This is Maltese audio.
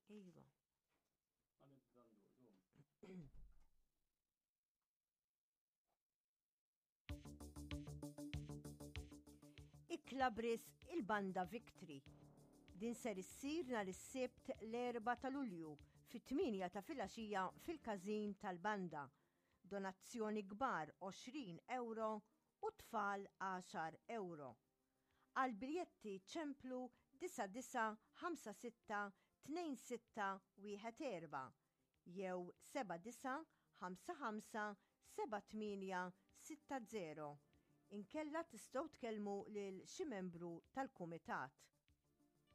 Iva. Ikla b'risq il-Banda Victory. Din ser issir nhar is-Sibt l-4 ta' Lulju fit-8 ta' filgħaxija fil-każin tal-banda. Donazzjoni kbar 20 ewro u tfal 10 ewro. Għal biljetti ċemplu 9956 2614 jew 7955 7860. Inkella tistgħu tkellmu lil xi membru tal-kumitat.